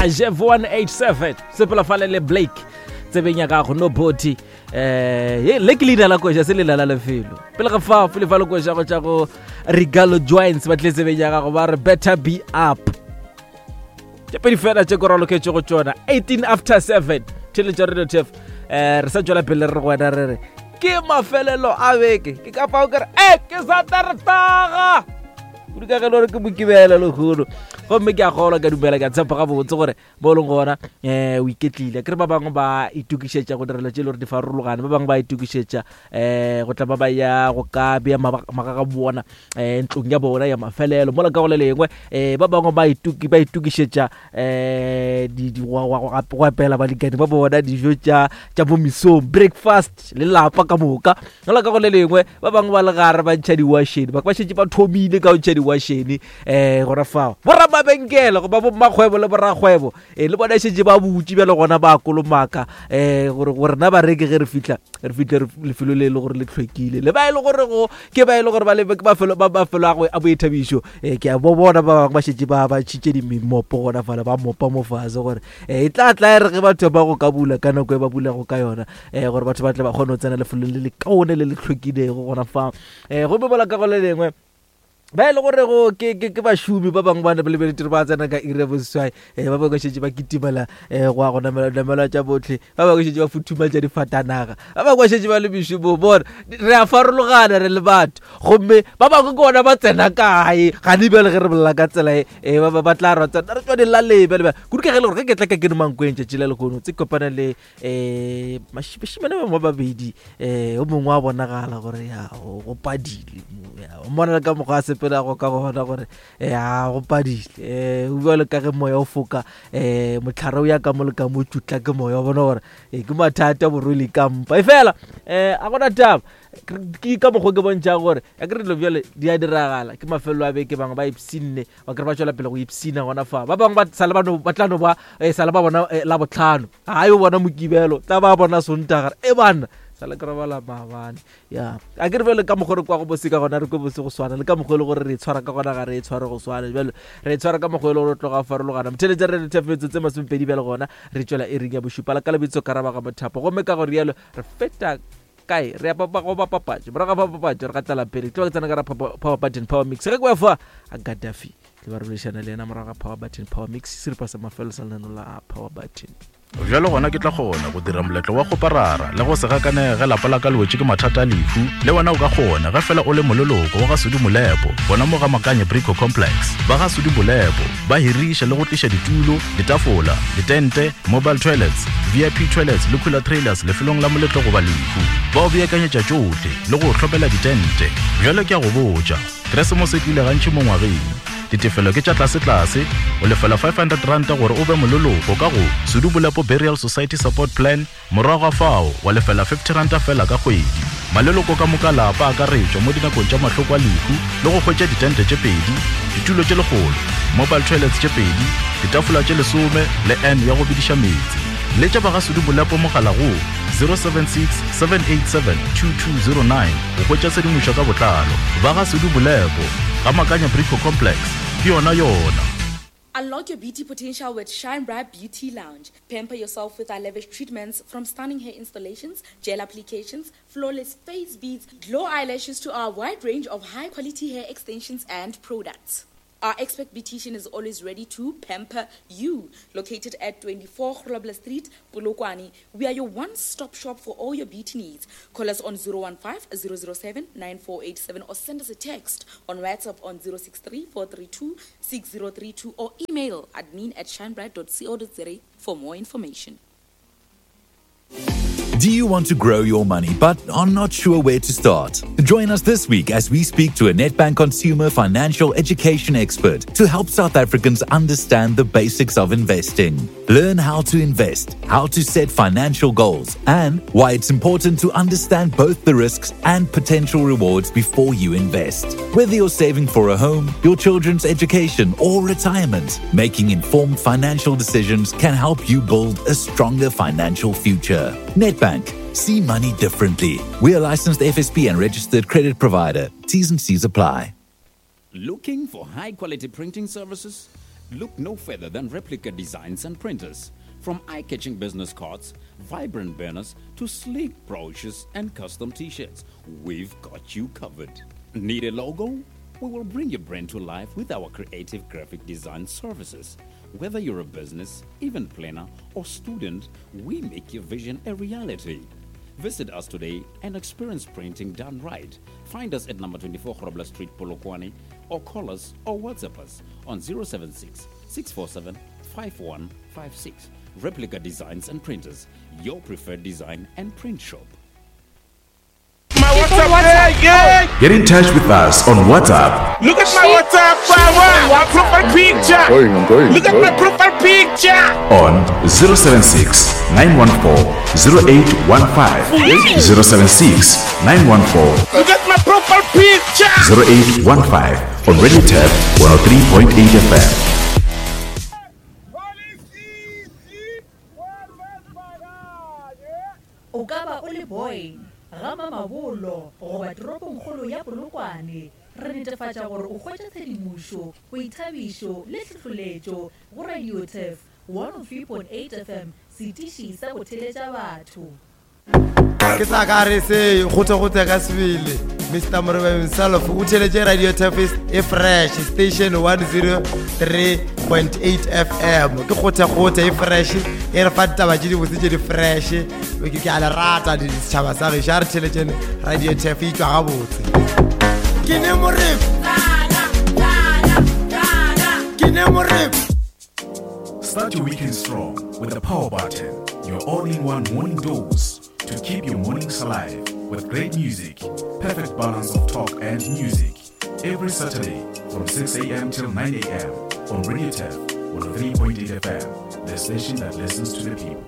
Jeff 187 sepela fale le Blake tsebeng ya gago no body eh le ke leina la koša se leina la lefelo pele ga fao pele fa le koša go tša go regalo joints ba tle tsebeng ya gago ba re better be up tše pedi fela tše ko raloketše go tšona 18 after 7 theletša radio tf eh re sa tšwela pele re go wena re re ke mafelelo a beke ke ka fao ke re e ke sa taretaga kudu ka ge le gore ke mokibela lehono gomme ke a golwa ka dumela ke a tshepa gabotse gore bo e leng gona um o iketlile ke re ba bangwe ba itokišetša go direla tše e le gore di farologane ba bangwe ba itokišetša um go tla ba ba ya go ka bea magaga bona um ntlong ya bona ya mafelelo mola ka go le lengwe um ba bangwe ba itokišetša um go apela balekane ba bona dijo tša tša mo mesong breakfast le lapa ka moka mola ka go le lengwe ba bangwe ba le gare ba ntšha diwašene ba šetše ba thomile ka go ntšha diwašene um gona fao boramabenkele goba bommakgwebo le borakgwebo um le bona šetše ba butše bjale gona ba kolomaka um gore gore rena bareki ge re fitlha re fitlhe lefelo le e le gore le tlhwekile le ba e le gore go ke ba e le gore ba lebe ke mafelo ba mafelo a go a boithabišo um ke a bo bona ba bangwe ba šetše ba ba tšhitše dimimopo gona fale ba mopa mo fase gore um e tla tla e re ge batho ba go ka bula ka nako e ba bulago ka yona um gore batho ba tle ba kgone go tsena lefelong le le kaone le le tlhwekilego gona fa um gomme bola ka go le lengwe ba e le gore go ke ke ke bašomi ba bangwe ba ne ba lebeletse ba tsena ka iri ya boseswai um ba bangwe šetse ba kitimela um go ya go namela namela tša botlhe ba bangwe šetse ba futhumatša difatanaga ba bangwe ba šetse ba le mešomong bona re a farologana re le batho gomme ba bangwe ke bona ba tsena kae gane bjale ge re bolela ka tsela e eh, ba ba tla re tsena re tswa dilaleng bjale bjale kudu ka ge e le gore ge ke tla ka ke mankweng tšatši la lekono tse kopana le um bashimane ba bangwe ba babedi um o mongwe wa bonagala gore ya go padile o mmona le ka mokgwa a sepelago ka gona gore ya go padile um o bjalo ka ge moya o foka um motlhare o ya ka mo le ka mo tšutla ke moya o bona gore um ke mathata borwele ka mpa e fela um a gona taba ke ka mokgwa ke bontšhago gore ya ke re dilo bjale di a diragala ke mafelelo a beke bangwe ba ipsinne ba kry ba tšwela pele go ipsina gona fa ba bangwe ba sale ba no ba tla no ba eh, sale ba bona eh, la botlhano ga yo bona mokibelo tla ba bona sontagare e banna sale ke robala maabane ya a ke re bjale ka mokgwa re kwa go bose ka gona re kwe bose go swana le ka mokgwa e le gore re tshwara ka gona ga re e tshware go swana bjale re tshwara ka mokgwa e le gore o tloga farologana motheletša re rethafetso tse masomepedi bjale gona re tšwela e ring ya bošupa la ka lebitso karabaga mothapo gomme ka go rialo re feta kae re ya papa go ba papatšo morago ga papatšo re gatela pele tlo ke tsena ka ra power button power mix ge ke fa a gaddafi ke ba boledišana le yena morago ga power button power mix seripa sa mafelo sa lenano la power button bjalo gona ke tla kgona go dira moletlo wa kgoparara le go se gakanege ge lapa la ka le wetše ke mathata a lehu le wena o ka kgona ge fela o le moleloko wa ga sudi molepo gona mo ga makanye brico complex ba ga sudi molepo ba hiriša le go tliša ditulo ditafola ditente mobile toilets vip toilets le cooler trailers lefelong la moletlo goba lehu ba o beakanyetša tšohle le go hlopela ditente bjale ke a go botša keresemose e tlile gantši mo ngwageng ditefelo ke tša tlasetlase o lefela 500 ranta gore o be moleloko ka go sedubolepo burial society support plan Morago ga fao wa lefela 50 ranta fela ka kgwedi. Maleloko ka moka a lapa a akaretšwa mo dinakong tša mahloko a lehu le go hwetša ditente tše pedi, ditulo tše lekgolo, mobile toilets tše pedi, ditafola tše lesome le urn ya go bediša meetse. Letša ba ga Sudu Bolepo mogala go 076 787 2209 go hwetša tshedimošo ka botlalo. Ba ga Sudu Bolepo, Ga Makanya Brico Complex, ke yona yona. Unlock your beauty potential with Shine Bright Beauty Lounge. Pamper yourself with our lavish treatments from stunning hair installations, gel applications, flawless face beads, glow eyelashes to our wide range of high quality hair extensions and products. Our expert beautician is always ready to pamper you. Located at 24 Grobler Street, Polokwane, we are your one-stop shop for all your beauty needs. Call us on 015 007 9487 or send us a text on WhatsApp on 063 432 6032 or email admin at shinebright.co.za for more information. Do you want to grow your money but are not sure where to start? Join us this week as we speak to a Nedbank consumer financial education expert to help South Africans understand the basics of investing. Learn how to invest, how to set financial goals, and why it's important to understand both the risks and potential rewards before you invest. Whether you're saving for a home, your children's education, or retirement, making informed financial decisions can help you build a stronger financial future. Nedbank. See money differently. We are licensed FSP and registered credit provider. T's and C's apply. Looking for high quality printing services? Look no further than Replica Designs and Printers. From eye catching business cards, vibrant banners, to sleek brochures and custom t shirts, we've got you covered. Need a logo? We will bring your brand to life with our creative graphic design services. Whether you're a business, event planner, or student, we make your vision a reality. Visit us today and experience printing done right. Find us at number 24 Grobler Street, Polokwane, or call us or WhatsApp us on 076 647 5156. Replica Designs and Printers, your preferred design and print shop. My WhatsApp, yeah, yeah. Get in touch with us on WhatsApp. Look at my WhatsApp, my profile picture. I'm going, I'm going, Look at my profile picture. On 076 914 0815. 076 914 Look at my profile picture. 0815 on Radio Tab 103.8 FM. O ka ba o le Boyne, Ga Mamabolo goba toropongkgolo ya Polokwane, re netefatša gore o hwetša tshedimošo, boithabišo le tlhohloletšo go Radio Turf 103.8 FM, setiši sa go theletša batho. Ke sa ka re se gote-gote ka sebele Mr Moreba himself o theletše Radio Turf e fresh station 103.8 FM ke gote-gote e fresh e re fa ditaba tše dibotse tše di fresh ke a le rata setšhaba sa gešo a re theletšene radio tef e tšwa gabotse ke ne morep ke ne morep Start your weekend strong with the Power Button, your all in one morning dose to keep your mornings alive with great music, perfect balance of talk and music. Every Saturday from 6 a.m. till 9 a.m. on Radio Tef 103.8 FM, the station that listens to the people.